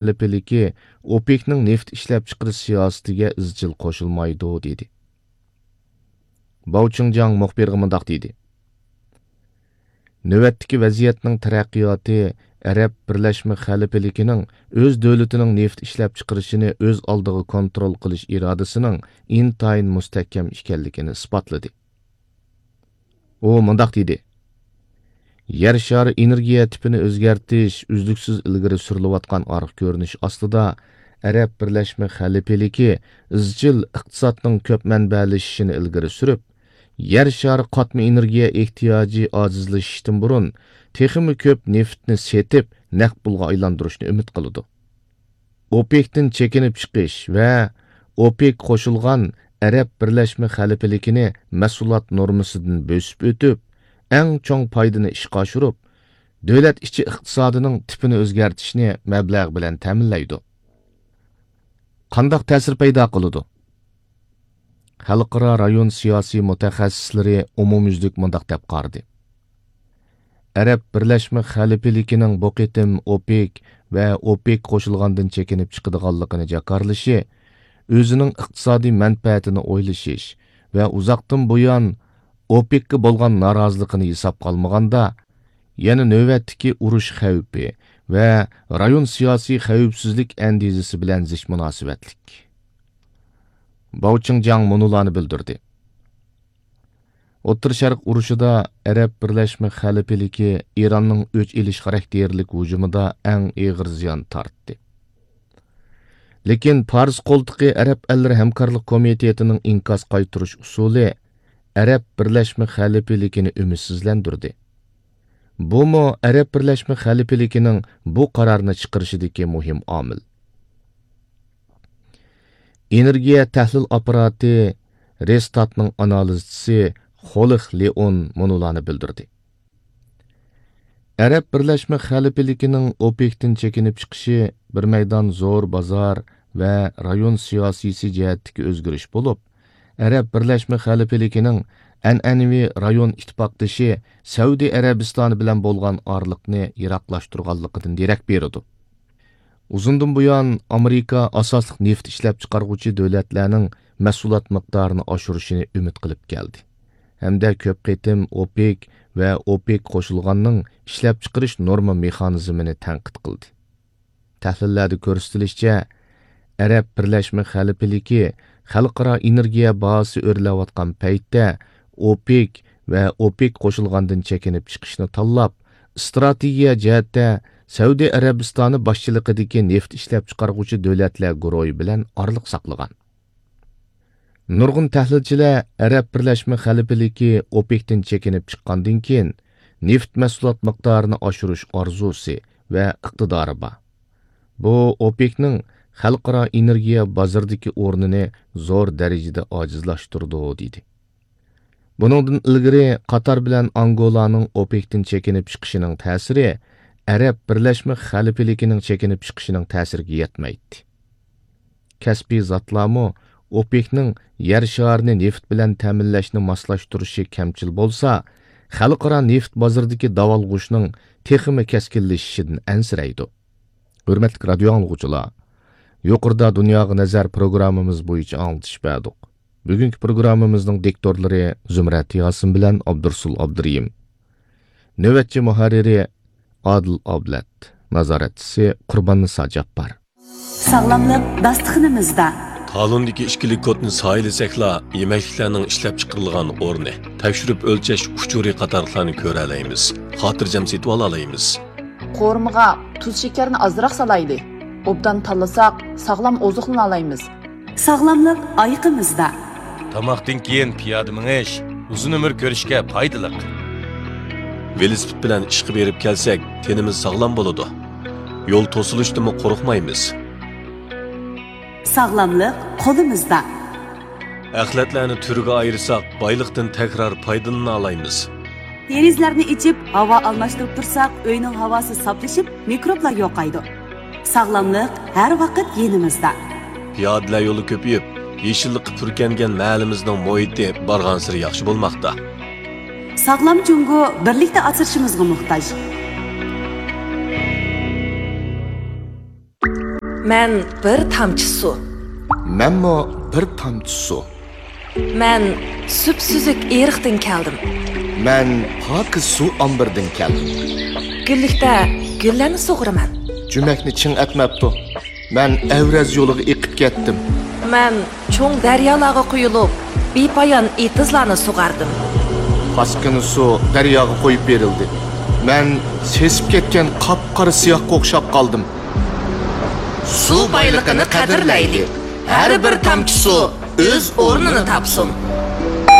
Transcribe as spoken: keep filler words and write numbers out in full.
خەلىپىلىكى ئوپېكنىڭ نېفىت ئىشلەپچىقىرىش سىياسىتىگە ئىزچىل قوشۇلمايدۇ، دېدى. باۋ چىڭجياڭ مۇخبىرغا مۇنداق دېدى: نۆۋەتتىكى ۋەزىيەتنىڭ تەرەققىياتى ئەرەب بىرلەشمە خەلىپىلىكىنىڭ ئۆز دۆلىتىنىڭ نېفىت ئىشلەپچىقىرىشىنى ئۆز ئالدىغا كونترول قىلىش ئىرادىسىنىڭ ئىنتايىن مۇستەھكەم ئىكەنلىكىنى ئىسپاتلىدى. ئۇ مۇنداق دېدى: يەر شارى ئېنېرگىيە تىپىنى ئۆزگەرتىش ئۈزلۈكسىز ئىلگىرى سۈرۈلۈۋاتقان ئارقا كۆرۈنۈش ئاستىدا، ئەرەب بىرلەشمە خەلىپىلىكى ئىزچىل ئىقتىسادنىڭ كۆپ مەنبەلىشىشىنى ئىلگىرى سۈرۈپ، يەر شارى قاتما ئېنېرگىيە ئېھتىياجى ئاجىزلىشىشتىن بۇرۇن تېخىمۇ كۆپ نېفىتنى سېتىپ، نەق پۇلغا ئايلاندۇرۇشنى ئۈمىد قىلىدۇ. ئوپېكتىن چېكىنىپ چىقىش ۋە ئوپېك قوشۇلغان ئەرەب بىرلەشمە خەلىپىلىكىنى مەھسۇلات نورمىسىدىن بۆسۈپ ئۆتۈپ، ئەڭ چوڭ پايدىنى ئىشقا ئاشۇرۇپ، دۆلەت ئىچى ئىقتىسادىنىڭ تىپىنى ئۆزگەرتىشنى مەبلەغ بىلەن تەمىنلەيدۇ. قانداق تەسىر پەيدا قىلىدۇ؟ خەلقئارا رايون سىياسىي مۇتەخەسسىسلىرى ئومۇميۈزلۈك مۇنداق دەپ قارىدى: ئەرەب بىرلەشمە خەلىپىلىكىنىڭ بۇ قېتىم ئوپېك ۋە ئوپېك قوشۇلغاندىن چېكىنىپ چىقىدىغانلىقىنى جاكارلىشى ئۆزىنىڭ ئىقتىسادىي مەنپەئەتىنى ئويلىشىش ۋە ئۇزاقتىن بۇيان ئوپېكقا بولغان نارازىلىقىنى ھېسابقا ئالمىغاندا، يەنە نۆۋەتتىكى ئۇرۇش خەۋپى ۋە رايون سىياسىي خەۋپسىزلىك ئەندىزىسى بىلەن زىچ مۇناسىۋەتلىك. باۋ چىڭجياڭ مۇنۇلارنى بىلدۈردى: ئوتتۇرا شەرق ئۇرۇشىدا ئەرەب بىرلەشمە خەلىپىلىكى ئىراننىڭ ئۆچ ئېلىش خاراكتېرلىك ھۇجۇمىدا ئەڭ ئېغىر زىيان تارتتى. لېكىن پارس قولتۇقى ئەرەب ئەللىرى ھەمكارلىق كومىتېتىنىڭ ئىنكاس قايتۇرۇش ئۇسۇلى ئەرەب بىرلەشمە خەلىپىلىكىنى ئۈمىدسىزلەندۈردى. بۇمۇ ئەرەب بىرلەشمە خەلىپىلىكىنىڭ بۇ قارارنى چىقىرىشىدىكى مۇھىم ئامىل. ئېنېرگىيە تەھلىل ئاپپاراتى رېستاتنىڭ ئانالىزچىسى خولىخ لېئون مۇنۇلارنى بىلدۈردى: ئەرەب بىرلەشمە خەلىپىلىكىنىڭ ئوپېكتىن چېكىنىپ چىقىشى بىر مەيدان زور بازار ۋە رايون سىياسىيسى جەھەتتىكى ئۆزگىرىش بولۇپ، ئەرەب بىرلەشمە خەلىپىلىكىنىڭ ئەنئەنىۋى رايون ئىتتىپاقدىشى سەئۇدى ئەرەبىستانى بىلەن بولغان ئارىلىقنى يىراقلاشتۇرغانلىقىدىن دېرەك بېرىدۇ. ئۇزۇندىن بۇيان ئامېرىكا ئاساسلىق نېفىت ئىشلەپچىقارغۇچى دۆلەتلەرنىڭ مەھسۇلات مىقدارىنى ئاشۇرۇشىنى ئۈمىد قىلىپ كەلدى ھەمدە كۆپ قېتىم ئوپېك ۋە ئوپېك قوشۇلغاننىڭ ئىشلەپچىقىرىش نورما مېخانىزمىنى تەنقىد قىلدى. تەھلىللەردە كۆرسىتىلىشىچە، ئەرەب بىرلەشمە خەلىپىلىكى خەلقئارا ئېنېرگىيە باھاسى ئۆرلەۋاتقان پەيتتە ئوپېك ۋە ئوپېك قوشۇلغاندىن چېكىنىپ چىقىشنى تاللاپ، ئىستراتېگىيە جەھەتتە سەئۇدى ئەرەبىستانى باشچىلىقىدىكى نېفىت ئىشلەپچىقارغۇچى دۆلەتلەر گۇرۇھى بىلەن ئارىلىق ساقلىغان. نۇرغۇن تەھلىلچىلەر ئەرەب بىرلەشمە خەلىپىلىكى ئوپېكتىن چېكىنىپ چىققاندىن كېيىن، نېفىت مەھسۇلات مىقدارىنى ئاشۇرۇش ئارزۇسى ۋە ئىقتىدارى بار. بۇ ئوپېكنىڭ خەلقئارا ئېنېرگىيە بازىرىدىكى ئورنىنى زور دەرىجىدە ئاجىزلاشتۇرىدۇ، دېدى. بۇنىڭدىن ئىلگىرى قاتار بىلەن ئانگولانىڭ ئوپېكتىن چېكىنىپ چىقىشىنىڭ تەسىرى ئەرەب بىرلەشمە خەلىپىلىكىنىڭ چېكىنىپ چىقىشىنىڭ تەسىرىگە يەتمەيتتى. كەسپىي زاتلارمۇ ئوپېكنىڭ يەر شارىنى نېفىت بىلەن تەمىنلەشنى ماسلاشتۇرۇشى كەمچىل بولسا، خەلقئارا نېفىت بازىرىدىكى داۋالغۇشنىڭ تېخىمۇ كەسكىنلىشىشىدىن ئەنسىرەيدۇ. ھۆرمەتلىك رادىيو ئاڭلىغۇچىلار، يۇقىرىدا دۇنياغا نەزەر پروگراممىمىز بويىچە ئاڭلىتىش بەردۇق. بۈگۈنكى پروگراممىمىزنىڭ دىكتورلىرى زۇمرەت ياسىن بىلەن ئابدۇرسۇل ئابدۇرېھىم. نۆۋەتچى مۇھەررىرى ئادىل ئابلەت، نازارەتچىسى قۇرباننىسا جاپپار. ساغلاملىق داستىخىنىمىزدا. تالوندىكى ئىككىلىك كودنى سايىلىسەكلا، يېمەكلىكلەرنىڭ ئىشلەپچىقىرىلغان ئورنى، تەكشۈرۈپ ئۆلچەش ئۇچۇرى قاتارلىقلارنى كۆرەلەيمىز، خاتىرجەم سېتىۋالالايمىز. قورۇمىغا تۇز شېكەرنى ئازراق سالايلى. ئوبدان تاللىساق، ساغلام ئوزۇقلىنالايمىز. ساغلاملىق ئايىقىمىزدا. تاماقتىن كېيىن پىيادە مېڭىش ئۇزۇن ئۆمۈر كۆرۈشكە پايدىلىق. ۋېلىسىپىت بىلەن ئىشقا بېرىپ كەلسەك، تېنىمىز ساغلام بولىدۇ. يول توسۇلۇشتىنمۇ قورقمايمىز. ساغلاملىق قولىمىزدا. ئەخلەتلەرنى تۈرگە ئايرىساق، بايلىقتىن تەكرار پايدىلىنالايمىز. دېرىزىلەرنى ئېچىپ، ھاۋا ئالماشتۇرۇپ تۇرساق، ئۆينىڭ ھاۋاسى ساپلىشىپ، مىكروبلار يوقايدۇ. ساغلاملىق ھەر ۋاقىت يېنىمىزدا. پىيادىلەر يولى كۆپىيىپ، يېشىللىققا پۈركەنگەن مەھەللىمىزنىڭ مۇھىتى بارغانسېرى ياخشى بولماقتا. ساغلام جۇڭگو بىرلىكتە ئاسرىشىمىزغا موھتاج. مەن بىر تامچە سۇ. مەنمۇ بىر تامچە سۇ. مەن سۈپسۈزۈك ئېرىقتىن كەلدىم. مەن پاكىز سۇ ئامبىرىدىن كەلدىم. گۈللۈكتە گۈللەرنى سۇغۇرىمەن. جۈمەكنى چىڭ ئەتمەپتۇ. مەن ئەۋرەز يولىغا ئېقىپ كەتتىم. مەن چوڭ دەريالارغا قۇيۇلۇپ، بىپايان ئېتىزلارنى سۇغاردىم. پاسكىنا سۇ دەرياغا قويۇپ بېرىلدى. مەن سېسىپ كەتكەن قاپقارا سىياھقا ئوخشاپ قالدىم. سۇ بايلىقىنى قەدىرلەيلى. ھەر بىر تامچە سۇ ئۆز ئورنىنى تاپسۇن.